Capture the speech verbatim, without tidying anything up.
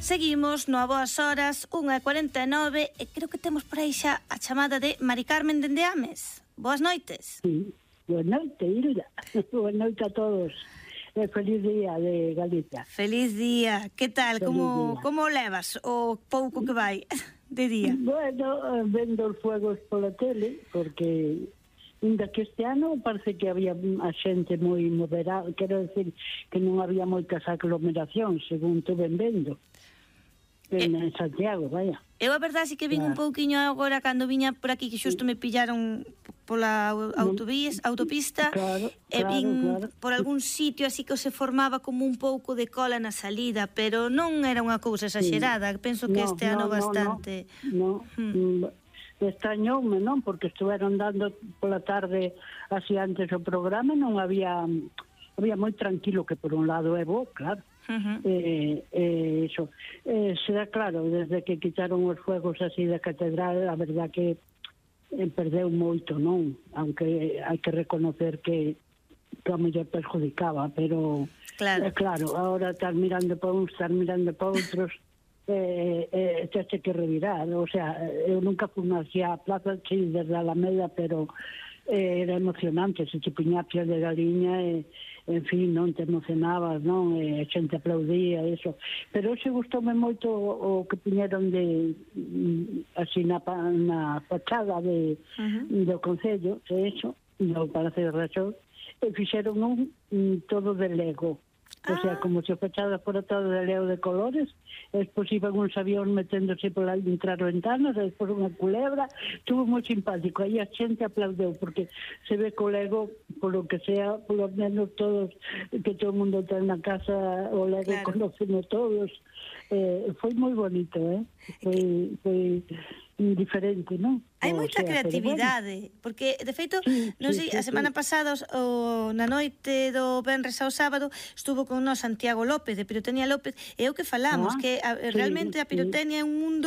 Seguimos no A Boas Horas, unha e cuarenta e nove, e creo que temos por aí xa a chamada de Mari Carmen dende Ames. Boas noites. Sí, boa noite, Hilda. Boa noite a todos. E feliz día de Galicia. Feliz día. Que tal? Feliz Como día. como levas o pouco que vai de día? Bueno, vendo os fuegos pola tele, porque ainda que este ano parece que había a xente moi moderada, quero decir que non había moitas aglomeracións, según tu ben vendo. En, en Santiago, vaya. Eu a verdade é que vin un pouquiño agora cando viña por aquí, que xusto me pillaron pola autovías, autopista, Claro, e claro, vin claro. por algún sitio así que se formaba como un pouco de cola na salida, pero non era unha cousa exagerada. Penso que No, este ano no, no, bastante... No, no. Mm. Extrañoume, non? Porque estuveron dando pola tarde así antes o programa, non había había moi tranquilo, que por un lado é bo, claro. Uh-huh. Eh, eh, eso eh, será claro, desde que quitaron os fuegos así da catedral, a verdad que eh, perdeu moito, non? Aunque hai que reconocer que que a mellor perjudicaba, pero claro, eh, claro, ahora estar mirando para uns, estar mirando para outros, eh, eh, te que revirar. O sea, eu nunca fui hacia a plaza, sí, desde a Alameda, pero eh, era emocionante, se te piña a piel de galiña e, en fin, non te emocionabas, non? E a xente aplaudía, eso. Pero hoxe gustoume moito o, o que piñeron de, así, na, na fachada de, uh-huh. do Concello, e eso, do Palacio de Raxón, e fixeron un, un todo de Lego. O sea, como se fachada fora todo de leo de colores, e despois iban uns avións meténdose pola entrar ventanas, e despois unha culebra, estuvo moi simpático, aí a xente aplaudeu, porque se ve que o Lego, polo que sea, polo menos todos, que todo o mundo ten na casa, o Lego claro. Conocemos todos, eh, foi moi bonito, eh? Foi, foi diferente, non? Hai moita creatividade, bueno. Porque, de feito, sí, non sei, sí, sí, a semana sí. pasada, o, na noite do venres ao sábado, estuvo con nós Santiago López, de Pirotecnia López, e eu que falamos, ah, que a, realmente sí, a pirotecnia sí. é un mundo